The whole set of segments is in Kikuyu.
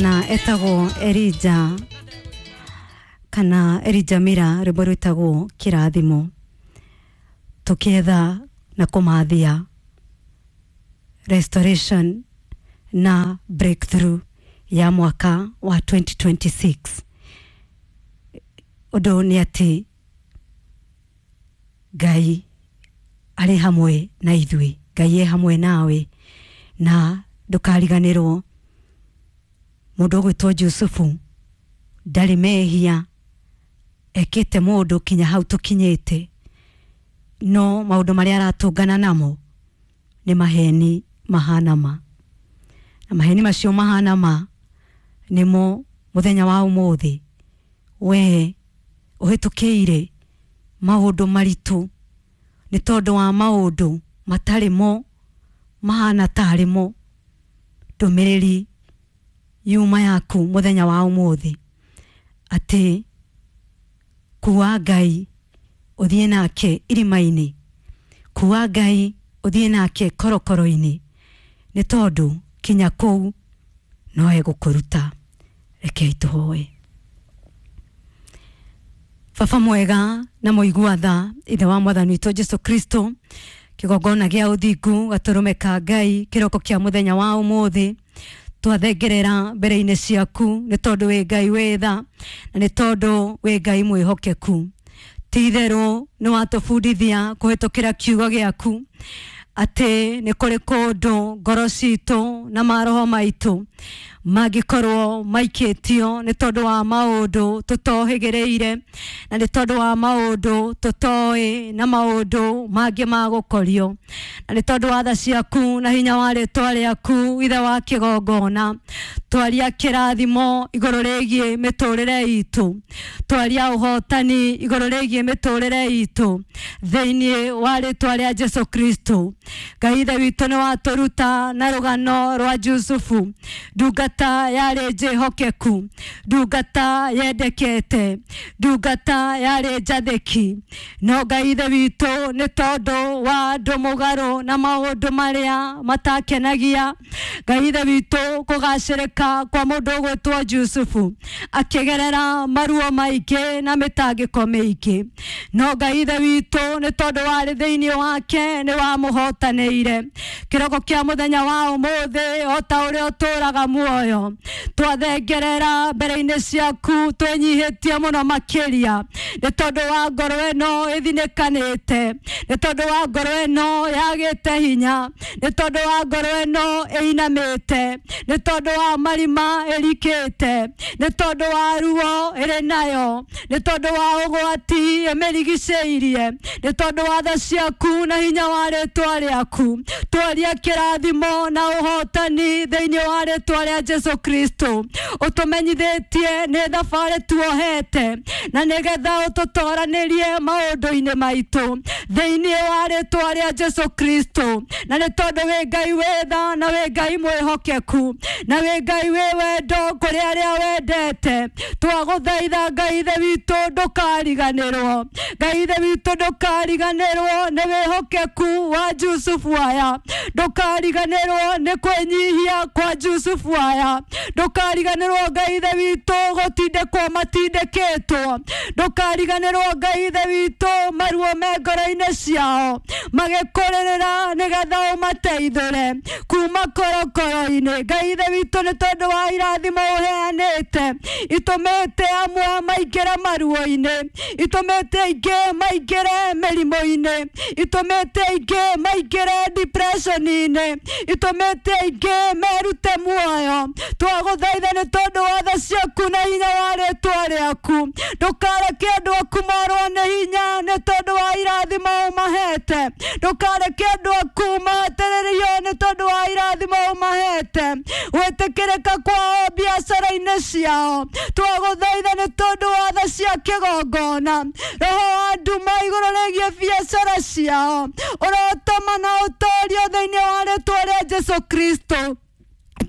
Na etagwo Erija kana Erija Mira, rwĩmbo rwĩtagwo Kĩrathimo. Tũkĩetha na kũmathia restoration na breakthrough ya mwaka wa 2026. Ũndũ nĩ atĩ Ngai arĩ hamwe na ithuĩ, Ngai e hamwe nawe, na ndũkariganĩrwo mũndũ ũgwĩtwo Jusufu ndarĩ mehia ekĩte mũndũ kinya hau tũkinyĩte, no maũndũ marĩa aratũngana namo nĩ maheni mahana ma, na maheni macio mahana ma nĩmo mũthenya wa ũmũthĩ we ũhĩtũkĩire maũndũ maritũ nĩ tondũ wa maũndũ matarĩ mo mahana tarĩ mo. Ndũmĩrĩri yuma yaku mũthenya wa ũmũthĩ atĩ kuwa Ngai ũthiĩ nake irima-inĩ, kuwa Ngai ũthiĩ nake korokoro-inĩ, nĩ tondũ kinya kũu no egũkũruta. Rekei tũhoe. Baba mwega na mũigua tha, ithe wa mwathani witũ Jesu Kristo, kĩgongona gĩa ũthingu gatũrũme ka Ngai kĩroko kĩa mũthenya wa ũmũthĩ twathengerera mbere-inĩ ciaku nĩ tondũ wĩ Ngai wĩ tha na nĩ tondũ wĩ Ngai mwĩhokeku. Ti itherũ nĩ watũbundithia kũhĩtũkĩra kiugo gĩaku atĩ nĩ kũrĩ kũndũ ngoro citũ na maroho maitũ mangĩkorwo maikĩtio nĩ tondũ wa maũndũ tũtohĩgĩrĩire na nĩ tondũ wa maũndũ tũtoĩ na maũndũ mangĩ ma gũkorio, na nĩ tondũ wa tha ciaku na hinya wa rĩtwa rĩaku ithe wa kĩgongona, twaria kĩrathimo igũrũ rĩgiĩ mĩtũrĩre itũ, twaria ũhotani igũrũ rĩgiĩ mĩtũrĩre itũ thĩinĩ wa rĩtwa rĩa Jesu Kristo. Ngai ithe witũ nĩ watũruta na rũgano rwa Jusufu, ndungata yarĩ njĩhokeku, ndungata yendekete, ndungata yarĩ njathĩki, no Ngai ithe witũ nĩ tondũ wa andũ mũgarũ na maũndũ marĩa matakenagia Ngai ithe witũ kũgacĩrĩka kwa mũndũ ũgwĩtwo Jusufu akĩgerera maruo maingĩ na mĩtangĩko mĩingĩ, no Ngai ithe witũ nĩ tondũ warĩ thĩinĩ wake nĩ wamũhotanĩire. Kĩroko kĩa mũthenya wa ũmũthĩ o ta ũrĩa ũtũraga muoyo twathengerera mbere-inĩ ciaku twĩnyihĩtie mũno makĩria nĩ tondũ wa ngoro ĩno ĩthinĩkanĩte, nĩ tondũ wa ngoro ĩno yagĩte hinya, nĩ tondũ wa ngoro ĩno ĩinamĩte, nĩ tondũ wa marima ĩrikĩte, nĩ tondũ wa ruo ĩrĩ nayo, nĩ tondũ wa ũgwati ĩmĩrigicĩirie, nĩ tondũ wa tha ciaku na hinya wa rĩtwa rĩaku twaria kĩrathimo na ũhotani thĩinĩ wa rĩtwa rĩa Jesu Kristo. Ũtũmenyithĩtie nĩ thabarĩ tuohete na nĩgetha ũtũtoranĩrie maũndũ-inĩ maitũ thĩinĩ wa rĩtwa rĩa Jesu Kristo, na nĩ tondũ wĩ Ngai wĩ tha na wĩ Ngai mwĩhokeku na wĩ Ngai wĩ wendo kũrĩ arĩa wendete, twagũthaitha Ngai ithe witũ ndũkariganĩrwo, Ngai ithe witũ ndũkariganĩrwo nĩ wĩhokeku wa Jusufu aya, ndũkariganĩrwo nĩ kwĩnyihia kwa Jusufu aya, ndũkariganĩrwo Ngai ithe witũ gũtindĩkwo matindĩkĩtwo, ndũkariganĩrwo Ngai ithe witũ maruo me ngoro-inĩ ciao magĩkũrĩrĩra nĩgetha ũmateithũre kuma korokoro-inĩ. Ngai ithe witũ nĩ tondũ wa irathimo ũheanĩte itũmĩte amwe maingĩre maruo-inĩ, itũmĩte aingĩ maingĩre mĩrimũ-inĩ, itũmĩte aingĩ maingĩre depression-inĩ, itũmĩte aingĩ merute muoyo. Twagũthaitha nĩ tondũ wa tha ciaku na hinya wa rĩtwa rĩaku, ndũkareke andũ aku morwo nĩ hinya nĩ tondũ wa irathimo ũmahete, ndũkareke andũ aku mahatĩrĩrio nĩ tondũ wa irathimo ũmahete, gwĩtĩkĩrĩka kwao biacara-inĩ ciao. Twagũthaitha nĩ tondũ wa tha cia kĩgongona, roho wa nduma igũrũ rĩgiĩ biacara ciao ũrotoma na ũtorio thĩinĩ wa rĩtwa rĩa Jesu Kristo.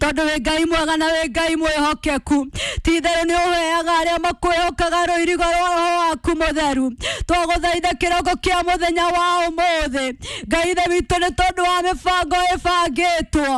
Tondũ wĩ Ngai mwega na wĩ Ngai mwĩhokeku. Ti itherũ nĩ ũheaga arĩa makwĩhokaga rũirigo rwa roho waku mũtheru. Twagũthaitha kĩroko kĩa mũthenya wa ũmũthĩ, Ngai ithe witũ, nĩ tondũ wa mĩbango ĩbangĩtwo,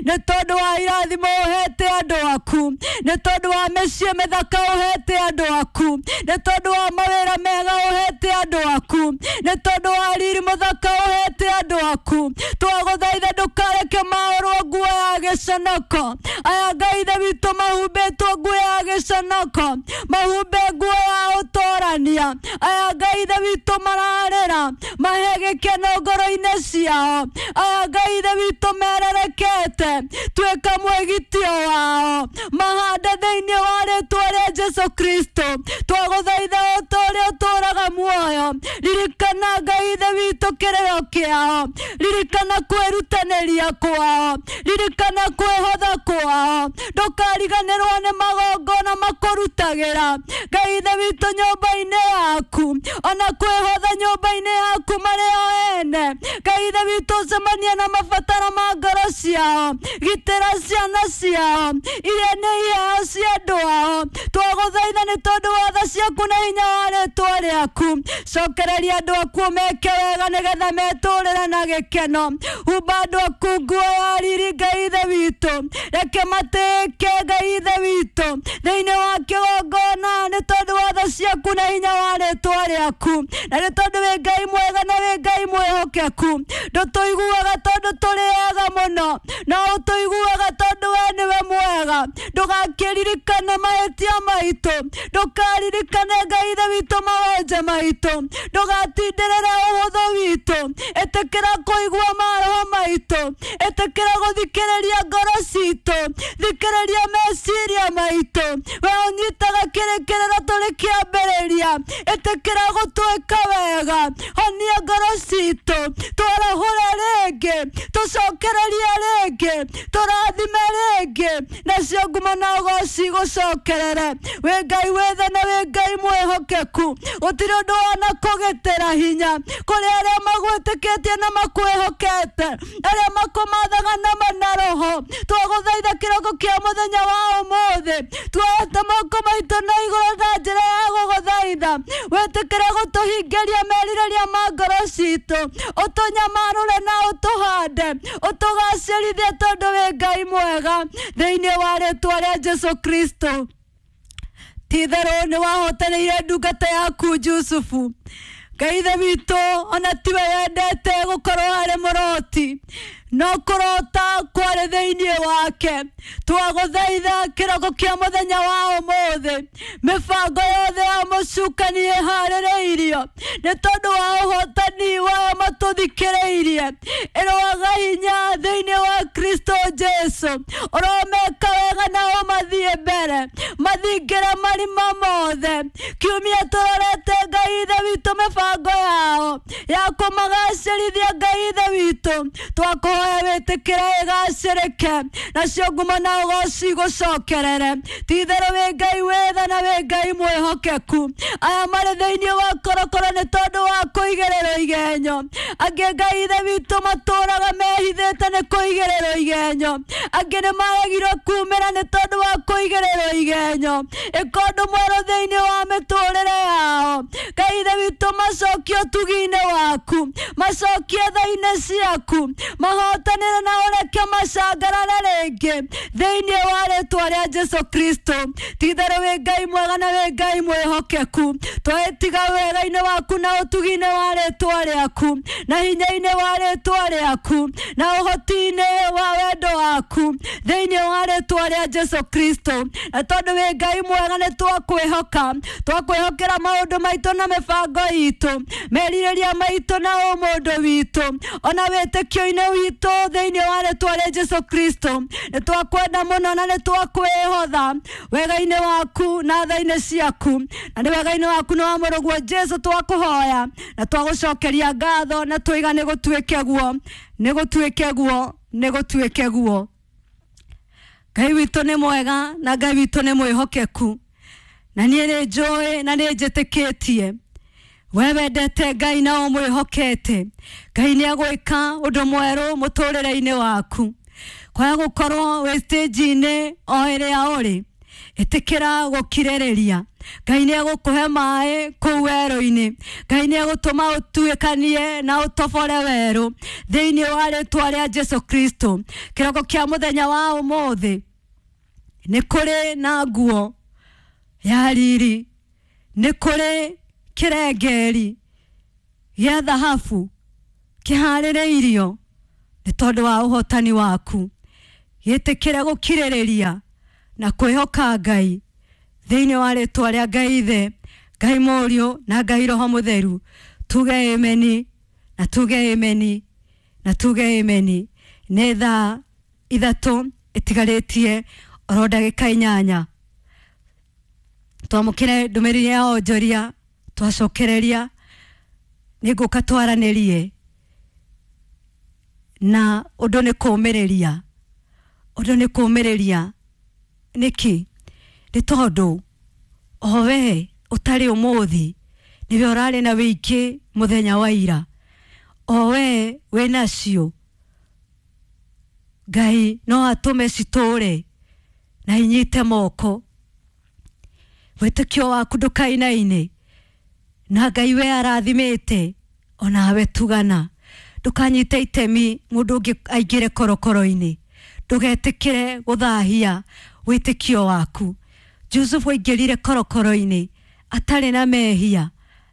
nĩ tondũ wa irathimo ũhete andũ aku, nĩ tondũ wa mĩciĩ mĩthaka ũhete andũ aku, nĩ tondũ wa mawĩra mega ũhete andũ aku, nĩ tondũ wa riri mũthaka ũhete andũ aku. Twagũthaitha ndũkareke maũrwo nguo ya gĩconoko. Aya Ngai ithe witũ mahumbĩtwo nguo ya gĩconoko, mahumbe nguo ya ũtorania. Aya Ngai ithe witũ mararĩra, mahe gĩkeno ngoro-inĩ ciao. Aya Ngai ithe witũ mererekete, tuĩka mwĩgitio wao, mahande thĩinĩ wa rĩtwa rĩa Jesu Kristo. Twagũthaitha o ta ũrĩa ũtũũraga muoyo, ririkana Ngai ithe witũ kĩrĩro kĩao, ririkana kwĩrutanĩria kwao, ririkana kwĩhotha kwao, ndũkariganĩrwo nĩ magongona makũrutagĩra Ngai ithe witũ nyũmba-inĩ yaku, ona kwĩhotha nyũmba-inĩ yaku marĩ o ene. Ngai ithe witũ ũcemanie na mabataro ma ngoro ciao, gitĩra ciana ciao iria nĩ iheo cia andũ ao. Twagũthaitha nĩ tondũ wa tha ciaku na hinya wa rĩtwa rĩaku, cokereria andũ aku meke wega nĩgetha metũrĩre na gĩkeno. Humba andũ aku nguo ya riri Ngai ithe witũ, reke matĩĩke Ngai ithe witũ thĩinĩ wa kĩgongona, nĩ tondũ wa tha ciaku na hinya wa rĩtwa rĩaku, na nĩ tondũ wĩ Ngai mwega na wĩ Ngai mwĩhokeku. Ndũtũiguaga tondũ tũrĩ ega mũno, no ũtũiguaga tondũ we nĩwe mwega. Ndũgakĩririkane mahĩtia maitũ, ndũkaririkane Ngai ithe witũ mawonje maitũ, ndũgatindĩrĩre ũhũthũ witũ. Ĩtĩkĩra kũigua maroho maitũ, ĩtĩkĩra gũthikĩrĩria ngoro citũ, thikĩrĩria meciria maitũ. We ũnyitaga kĩrĩkĩrĩro tũrĩ kĩambĩrĩria, ĩtĩkĩra gũtwĩka wega, honia ngoro citũ, twarahũre rĩngĩ, tũcokererie rĩngĩ, tũrathime rĩngĩ, nacio ngumo na ũgoci gũcokerere. Wĩ Ngai wĩ tha na wĩ Ngai mwĩhokeku, gũtirĩ ũndũ wona kũgitĩra hinya kũrĩ arĩa magwĩtĩkĩtie na makwĩhokete, arĩa makũmathaga na mana roho. Twagũthaitha kĩroko kĩa mũthenya wa ũmũthĩ, tuoete moko maitũ na igũrũ na njĩra ya gũgũthaitha, wĩtĩkĩre gũtũhingĩria merirĩria ma ngoro citũ, ũtũnyamarũre na ũtũhande, ũtũgacĩrithie tondũ wĩ Ngai mwega, thĩinĩ wa rĩtwa rĩa Jesu Kristo. Ti itherũ nĩ wahotanĩire ndungata yaku Jusufu. Ngai ithe witũ, ona tiwe wendete gũkorwo arĩ mũroti, no kũrota kwarĩ thĩinĩ wake. Twagũthaitha kĩroko kĩa mũthenya wa ũmũthĩ, mĩbango yothe ya mũcukani ĩharĩrĩirio nĩ tondũ wa ũhotani wao matũthikĩrĩirie, ĩroaga hinya thĩinĩ wa Kristo Jesu. Ũromeka wega na ũmathiĩ mbere, mathingĩre marima mothe. Kiumia tũrorete Ngai ithe witũ mĩbango yao ya kũmagacĩrithia Ngai ithe witũ, twakũhoya wĩtĩkĩre ĩgacĩrĩke, nacio ngumo na ũgoci gũcokerere. Ti itherũ wĩ Ngai wĩ tha na wĩ Ngai mwĩhokeku. Aya marĩ thĩinĩ wa korokoro nĩ tondũ wa kũigĩrĩrwo igenyo, angĩ Ngai ithe witũ matũraga mehithĩte nĩ kũigĩrĩrwo igenyo, angĩ nĩ maregirwo kumĩra nĩ tondũ wa kũigĩrĩrwo igenyo. Ĩka ũndũ mwerũ thĩinĩ wa mĩtũrĩre yao Ngai ithe witũ, macokie ũtugi-inĩ waku, macokie tha-inĩ ciaku, mahotanĩre na ũreke macangarare rĩngĩ thĩinĩ wa rĩtwa rĩa Jesu Kristo. Ti itherũ wĩ Ngai mwega na wĩ Ngai mwĩhokeku. Twetiga wega-inĩ waku na ũtugi-inĩ wa rĩtwa rĩaku, na hinya-inĩ wa rĩtwa rĩaku, na ũhoti-inĩ wa wendo waku thĩinĩ wa rĩtwa rĩa Jesu Kristo. Na tondũ wĩ Ngai mwega nĩ twakwĩhoka, twakwĩhokera maũndũ maitũ na mĩbango itũ, merirĩria maitũ na ũmũndũ witũ, ona wĩtĩkio-inĩ witũ thĩinĩ wa rĩtwa rĩa Jesu Kristo. Nĩ twakwenda mũno na nĩ twakwĩhotha wega-inĩ waku na tha-inĩ ciaku, na nĩ wega-inĩ waku na wa mũrũguo Jesu twakũhoya na twagũcokeria ngatho, na twiga nĩ gũtuĩke guo, nĩ gũtuĩke guo, nĩ gũtuĩke guo. Ngai witũ nĩ mwega na Ngai witũ nĩ mwĩhokeku, na niĩ nĩ njũĩ na nĩ njĩtĩkĩtie we wendete Ngai na ũmwĩhokete, Ngai nĩ agwĩka ũndũ mwerũ mũtũrĩre-inĩ waku. Kwaga gũkorwo wĩ stage-inĩ o ĩrĩa ũrĩ, ĩtĩkĩra gũkirĩrĩria. Ngai nĩ egũkũhe maĩ kũu werũ-inĩ. Ngai nĩ egũtũma ũtuĩkanie na ũtobore werũ thĩinĩ wa rĩtwa rĩa Jesu Kristo. Kĩroko kĩa mũthenya wa ũmũthĩ nĩ kũrĩ na nguo ya riri, nĩ kũrĩ kĩrengeri gĩa thahabu kĩharĩrĩirio nĩ tondũ wa ũhotani waku. Gĩtĩkĩre gũkirĩrĩria na kwĩhoka Ngai thĩinĩ wa rĩtwa rĩa Ngai Ithe, Ngai Mũriũ na Ngai Roho Mũtheru. Tuge ameni na tuge ameni na tuge ameni. Nĩ thaa 3 ĩtigarĩtie oro ndagĩka 8. Twamũkĩre ndũmĩrĩri ya onjoria, twacokereria nĩ ngũka twaranĩrie na ũndũ nĩ kũũmĩrĩria. Ũndũ nĩ kũũmĩrĩria nĩkĩ? Nĩ tondũ o we ũtarĩ ũmũthĩ nĩwe ũrarĩ na wĩingĩ mũthenya wa ira, o we wĩnacio Ngai no atũme citũre na inyite moko. Wĩtĩkio waku ndũkainaine na Ngai we arathimĩte onawe tugana. Ndũkanyite itemi mũndũ ũngĩ aingĩre korokoro-inĩ. Ndũgetĩkĩre gũthahia wĩtĩkio waku. Jusufu aingĩrire korokoro-inĩ atarĩ na mehia,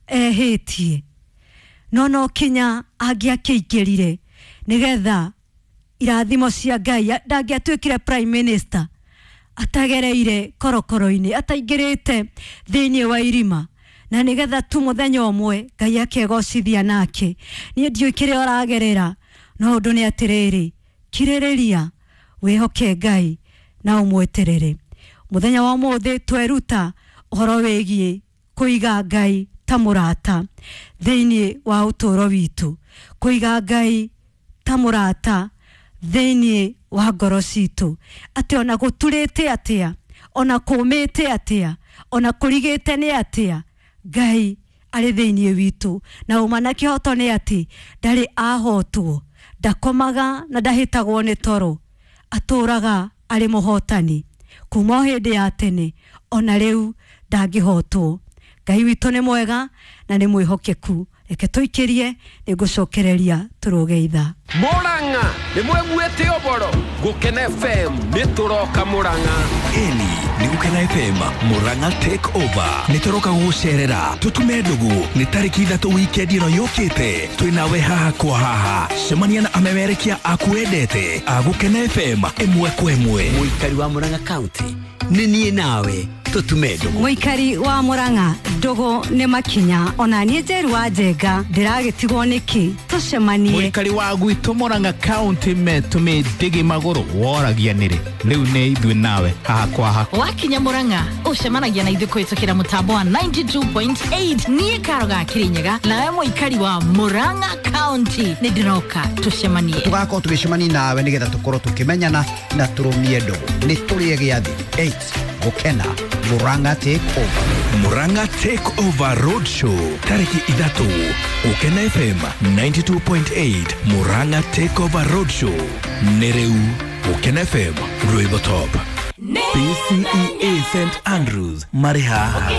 ehĩtie, no no kinya angĩakĩingĩrire nĩgetha irathimo cia Ngai. Ndangĩatuĩkire prime minister atagereire korokoro-inĩ, ataingĩrĩte thĩinĩ wa irima, na nĩgetha tu mũthenya ũmwe Ngai akegocithia nake. Niĩ ndiũĩ kĩrĩa ũragerera, no ũndũ nĩ atĩrĩrĩ, kirĩrĩria, wĩhoke Ngai na ũmweterere. Mũthenya wa ũmũthĩ tweruta ũhoro wĩgiĩ kũiga Ngai ta mũrata thĩinĩ wa ũtũũro witũ, kũiga Ngai ta mũrata thĩinĩ wa ngoro citũ, atĩ ona gũturĩte atĩa, ona kũũmĩte atĩa, ona kũrigĩte nĩ atĩa, Ngai arĩ thĩinĩ witũ. Na ũma na kĩhoto nĩ atĩ ndarĩ ahotwo, ndakomaga na ndahĩtagwo nĩ toro, atũraga arĩ mũhotani kuma o hĩndĩ ya tene ona rĩu ndangĩhotwo. Ngai witũ nĩ mwega na nĩ mwĩhokeku. Reke tũikĩrie, nĩ ngũcokereria tũrũge ithaa. Murang'a nĩ mweguĩte ũboro Gũkena FM nĩ tũroka Murang'a. Ĩni nĩ Gũkena FM Murang'a take over. Nĩ tũroka gũgũcerera tũtume ndũgũ. Nĩ tarĩki 3 wikendi ĩno yũkĩte, twĩnawe haha kwa haha. Cemania na amemerekia aku wendete a Gũkena FM ĩmwe kwa ĩmwe. Mũikari wa Murang'a County nĩ niĩ nawe tũtume ndũgũ. Mũikari wa Murang'a, ndũgũ nĩ makinya. Ona niĩ Njeru wa Njenga ndĩragĩtigwo nĩkĩ? Tũcemanie. Mũikari wa gwitũ Murang'a County metũmĩ ndĩgĩ magũrũ woragia nĩrĩ. Rĩu nĩ ithuĩ nawe haha kwa haha. Wakinya Murang'a ũcemanagia na ithuĩ kũhĩtũkĩra mũtambo wa 92.8. Niĩ Karo ga Kĩrĩnyaga nawe mũikari wa Murang'a County nĩ ndĩroka tũcemanie. Tũgakorwo tũgĩcemania nawe nĩgetha tũkorwo tũkĩmenyana na tũrũmie ndũgũ. Nĩ tũrĩe gĩathĩ 8 Gũkena Murang'a take over. Murang'a take over road show tarĩki 3 Gũkena FM 92.8. Murang'a take over road show nĩ rĩu Gũkena FM rwĩmbo top. PCEA St Andrews marĩ haha.